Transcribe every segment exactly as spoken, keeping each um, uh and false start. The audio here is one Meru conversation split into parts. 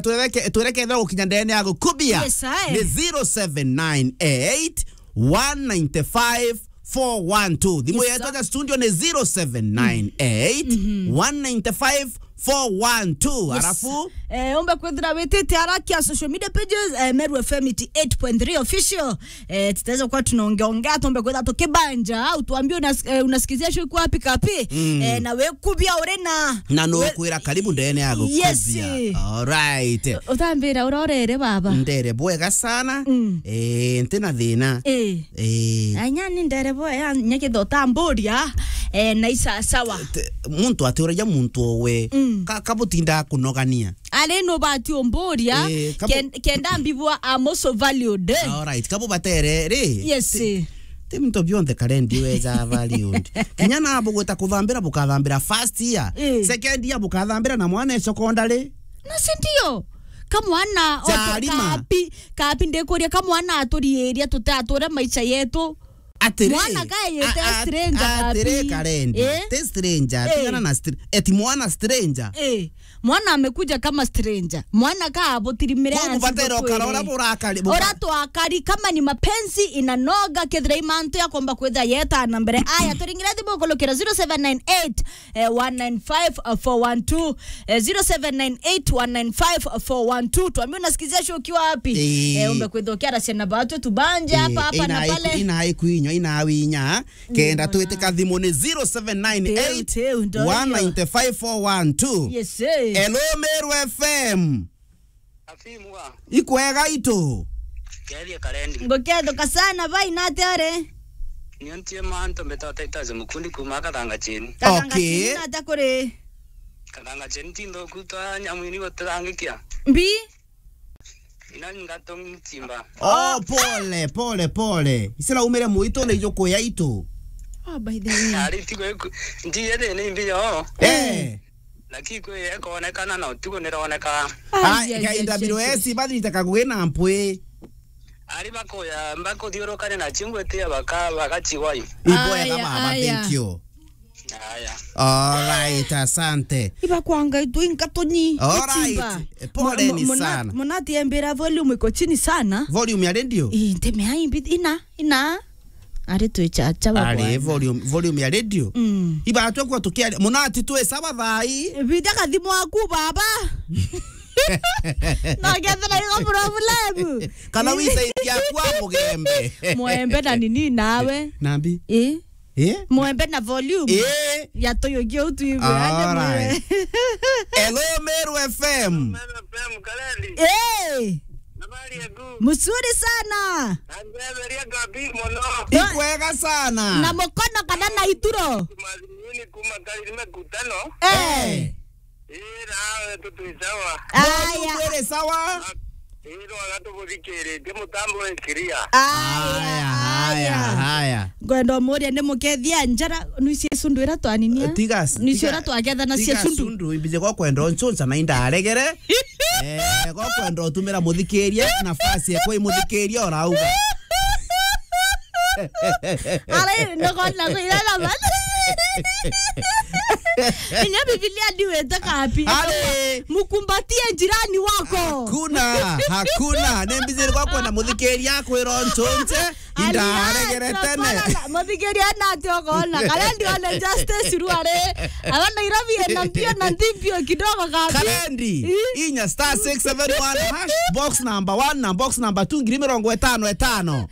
Twireke, twireke ethira gukinya ndene ya gukubia. Yes, aye. Ni zero seven nine eight, one nine five, four one two. Thimu yetu ya studio ni zero seven nine eight, one nine five, four one two. Yes. Arafu? Eh, umbe kwithira witite haraka social media pages, eh, Meru F M eighty-eight point three official. Eh, tutaweza kuwa tunaongeongea, tuombe kwenda tukibanja, au tuambie unas-, eh, unasikizia show iko wapi kapi? Mm. Eh, na we kubia uri na na no we-, kwira karibu ndene ya gukubia. Yes. All right. Utambira urorere baba. Ndere bwega sana. Mm. Eh, ntina thina. Eh. Eh. Anya ni ndere bwega, nyakitho tamburia, eh, na isa sawa. Te-, muntu ati uraja muntu owe. Mm. Ka-, kabutinda kunogania. Ari no bati umburia, eh, kabu- ken-, kenda mbibwa a most valued. All right, kabu batere, ri? Yes. Ti, ti mto bionthe karendi weza valued. Kinya na bugwita kuthambira, bukathambira first year. Eh. Second year bukathambira na mwana e secondary. Na si ndio? Kamwana oto Charima. Kapi, kapi ndikuria kamwana aturiiria tutature maisha yetu. Atiri, mwana kae yete a-, a-, stranger atiri kapi. Karendi. Eh? Ti stranger, eh, tigana na str-, eti mwana stranger. Eh. Mwana amekuja kama stranger. Mwana ka abutirimire. Kogu anzi batero gutwire. Karora burakari, buka- Ora twakari kama ni mapenzi inanoga kethira imantu ya komba kwetha yeta na mbere. Aya, turingire thimu kulukira zero seven nine eight, eh, one nine five, four one two, eh, zero seven nine eight, one nine five, four one two. Tuambie unasikizia show ukiwa wapi? Eh. Eh, umbe kwithokia rasia na batu tubanje hapa, eh, hapa na ina pale. Iku-, ina ikuinywa, ina winya. Kenda twite kathimu ni zero seven nine eight, one nine five, four one two. Yes, eh. Hello, Meru F M. Afimu wa. Ikwega itu. Keria karendi. Ngukethuka sana bai nate ari. Niontie mantu mbeta Titus Mukundi kuma Kathanga chini. Kathanga chini nate kuri. Kathanga chini tindo kutwa nyamwini gutirangikia. Mbi? Ina ngato ntimba. Oh, pole, pole, pole. Isira umire muito na ijo kuya itu. Oh, by the way. Ari tigo iku-, ndi ere ni mbi yo. Eh. Lakini kwi ekoonekana na utugo nironeka. Ai, ai, ai, ai, ai, ai. Bathite kagugi na mpwi. Ari bakoya, mbakuthiurukane na chingwe tia baka, bakachiwai. Iboya aya, baba, aya. Thank you. Aya. All right, asante. Iba kwanga itu inkatonyi. All right. Itimba. Eh, pole ni sana. Muna-, muna-, munatiembera volume iko chini sana. Volume ya radio? Ii, ntemea imbi-, ina, ina. Ari twi cha, cha baba. Ari volume, volume ya radio? Mm. Iba atwe kwa tukia, munati twi sawa thai. Bita kathimu aku baba. No, kethira iko problem. Kana wisaidia kwa Mugembe. Mugembe na nini nawe? Nambi? Eh? Eh? Mwembe na volume. Eh? Ya toyo gyo tu iwe. All right. Hello, Meru F M. Meru F M, Kalendi. Eh. Habari yaku? Mzuri sana. Angeberia gabi mono. Ikwega sana. Na mukono kana na ituro. Kumathimini kuma kali ni makutano. Eh. Eh. Ii, nawe tutwi sawa. Aya. Volume iri sawa? Ii, no gatumuthikiritie mutambo wi clear. Aya, aya, aya, aya. Ngwenda umuria ni mukethia njara, nuici sundu ira twaninia. Tiga s-, nuici tiga, ira twakethana cia tiga sundu. Sundu, imbije kwa kwenda onchoncha na indaregere. Eh, kwa kwenda utumira muthikiria nafasi ya kwa muthikiria orauga. Ara, nokona kwirana bana. Inya Biblia ndiwete kapi. Ari. Mkumbatie jirani wako. Hakuna, hakuna. Nembizire kwa kwenda muthikiria kwira onchonche. Indaregere tene. Muthikiria nati okona. Kalendi one justice ruare. Aba Nairobi ena mpio na ntimpio kidogo kapi. Kalendi. Ii. Inya star six seven one hash, box number one na box number two, ngiri mirongo itano itano.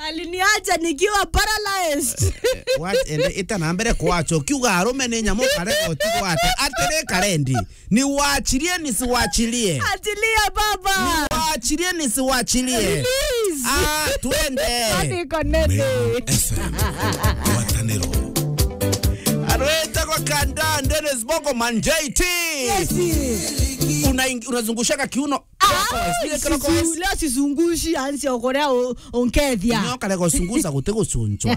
Aliniacha nikiwa paralyzed. Eh, eh, what? Ende ita na mbere kwacho. Kiuga arume ni nyamu karega utigwate. Atiri Kalendi. Niwachilie, nisiwachilie? Achilia baba. Niwachilie, nisiwachilie? Please. Ah, twende. Kwani iko nene? Meru F M. Ngwataniro. Arwete kwa kanda, Dennis Boko, Man J T. Yes. Una-, unazungushaka kiuno. Ah, clockwise, zile clockwise. Sizu-, leo sizungushi, ansi okorea o-, onkethia. Nyo karega usunguza gute gusunchwa.